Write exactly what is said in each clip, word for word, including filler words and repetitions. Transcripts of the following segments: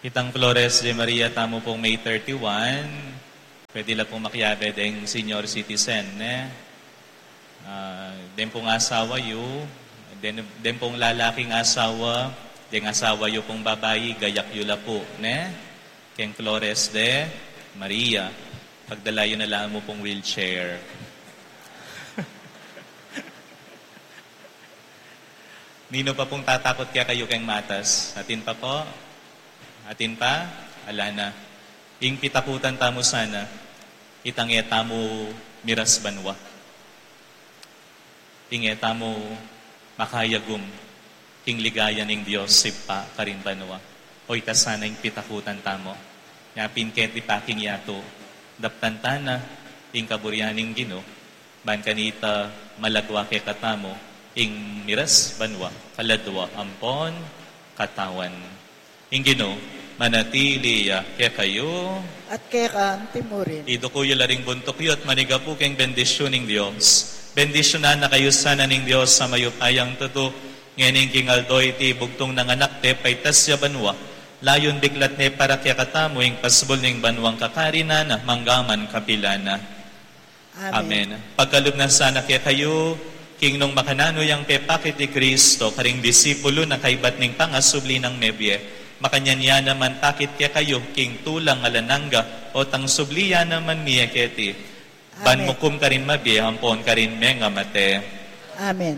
Itang Flores de Maria tamu pung May thirty-one, pwede la pung makiabe deng senior citizen, ne? Ah, den pung asawa yu, den, den pung lalaking asawa, deng asawa yu pung babai, gayak yu la pu, ne? Keng Flores de Maria, pagdala yu na la mu pung wheelchair. Ninu pa pung tatakut kekayu keng matas? Atin pa pu? Atin pa? Ala na. Ing pitakutan tamu sana, itang e tamu miras banua. Ing e tamu makayagum king ligaya ning Dios Ibpa karin banua. O ita sana ing pitakutan tamu. Nya pin keti pa king yatu, daptan ta na ing kaburian ning Ginu, ban kanita malagua kekatamu ing miras banua, kaladua ampon katawan. Ing Ginu manatili ya kekayu. At keka mu rin. Iduku yu la ring buntuk yu at manigapu keng bendisyun ning Dios. Bendisyunan na kayu sana ning Dios a mayupayang tutu, ngeni king aldo iti bugtung nang Anak ne paitas ya banua, layun biklat ne para kekatamu ing pasbul ning banuang kakarinan na mangga man kapilan na. Amen. Amen. Pagkalub na sana kekayu, king nung makananu yang pepakit i Kristo karing disipulu na kaibat ning pangasubli nang mebie, makanyan ya naman pakit kekayu king tulang alang angga, o tang subli ya naman mie keti. Ban Amen. Mukum karin mabie ampon karin mengamate. Amen.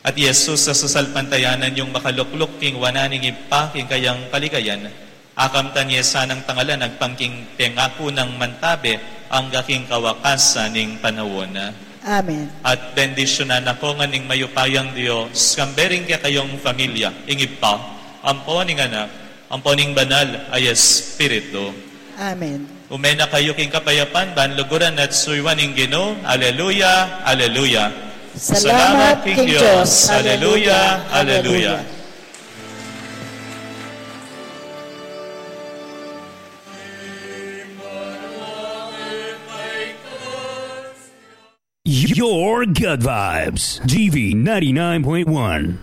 At Jesus, a sasalpantayanan yung makalukluk king wanan ning Ibpa king kayang kaligayan, akamtan ye sanang tangalan agpang king pengaku nang mantabe angga king kawakasan ning panaun. Amen. At bendisyunan na ko ngan ning mayupayang Dios, kambe ring kekayung familia, ing Ibpa, ampo ning Anak, ampo ning Banal a Espiritu. Amen. Ume na kayu king kapayapan, ban luguran at suyuan ing Ginu. Aleluya, aleluya. Salamat king Dios. Aleluya, aleluya. Your good vibes, G V ninety-nine point one.